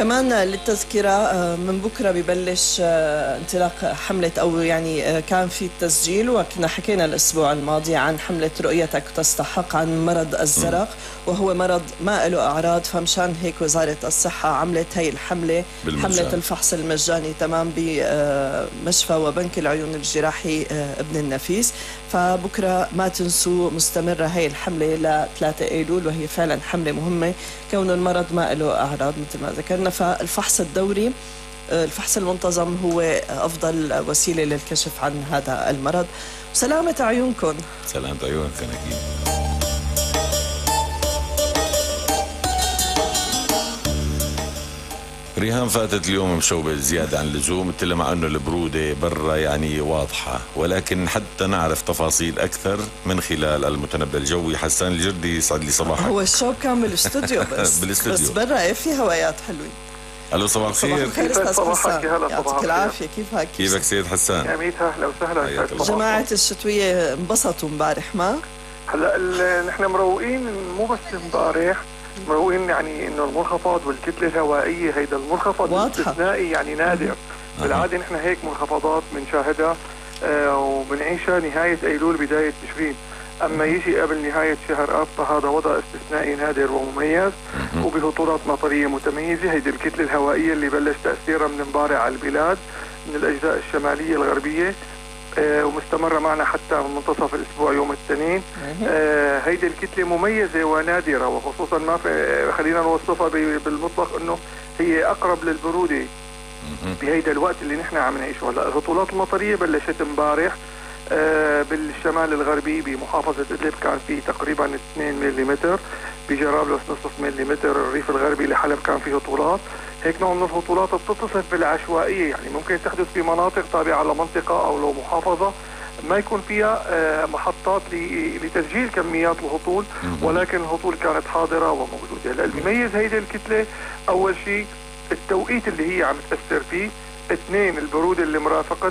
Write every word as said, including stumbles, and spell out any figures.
كمان للتذكرة من بكرة ببلش انطلاق حملة أو يعني كان في التسجيل، وكنا حكينا الأسبوع الماضي عن حملة رؤيتك تستحق عن مرض الزرق، وهو مرض ما له أعراض، فمشان هيك وزارة الصحة عملت هاي الحملة بالمجان. حملة الفحص المجاني تمام بمشفى وبنك العيون الجراحي ابن النفيس. فبكرة ما تنسوا مستمرة هاي الحملة ل ثلاثة أيلول، وهي فعلا حملة مهمة كون المرض ما له أعراض مثل ما ذكرنا. فالفحص الدوري، الفحص المنتظم هو أفضل وسيلة للكشف عن هذا المرض. سلامة عيونكم. سلامة عيونك أكيد. ريهام فاتت اليوم مشوبة زيادة عن اللزوم، قلت لها مع انه البرودة برا يعني واضحة، ولكن حتى نعرف تفاصيل اكثر من خلال المتنبأ الجوي حسان الجردي. يسعد لي صباحك. هو الشوب كان بالاستوديو بس بالاستوديو بس برا ايه في هوايات حلوين. الو صباح الخير. صباح الخير استاذ حسان، يعطيك العافية. كيفك؟ كيفك سيد حسان؟ يا ميت اهلا وسهلا. جماعة الشتوية انبسطوا امبارح ما؟ هلا نحن مروقين، مو بس امبارح مروقين، يعني انه المنخفض والكتله الهوائيه هيدا المنخفض الاستثنائي يعني نادر. بالعاده نحن هيك منخفضات بنشاهدها آه وبنعيشها نهايه ايلول بدايه تشرين، اما يجي قبل نهايه شهر اب فهذا وضع استثنائي نادر ومميز وبهطولات مطريه متميزه. هيدي الكتله الهوائيه اللي بلش تاثيرها من امبارح على البلاد من الاجزاء الشماليه الغربيه آه ومستمرة معنا حتى منتصف الأسبوع يوم الاثنين. آه هيدي الكتلة مميزة ونادرة، وخصوصا ما في خلينا نوصفها بالمطلق أنه هي أقرب للبرودة بهيدا الوقت اللي نحن عم نعيشه. هلا الهطولات المطرية بلشت امبارح آه بالشمال الغربي بمحافظة إدلب كان في تقريبا اثنين ملم، بجرابلس نصف ملم، الريف الغربي لحلب كان فيه هطولات. هيك نوع من الهطولات بتتصف بالعشوائية، يعني ممكن تحدث في مناطق تابعة لمنطقة أو لو محافظة ما يكون فيها محطات لتسجيل كميات الهطول، ولكن الهطول كانت حاضرة وموجودة. هلا اللي بيميز هيدي الكتلة أول شيء التوقيت اللي هي عم تأثر فيه، اثنين البرودة اللي مرافقتها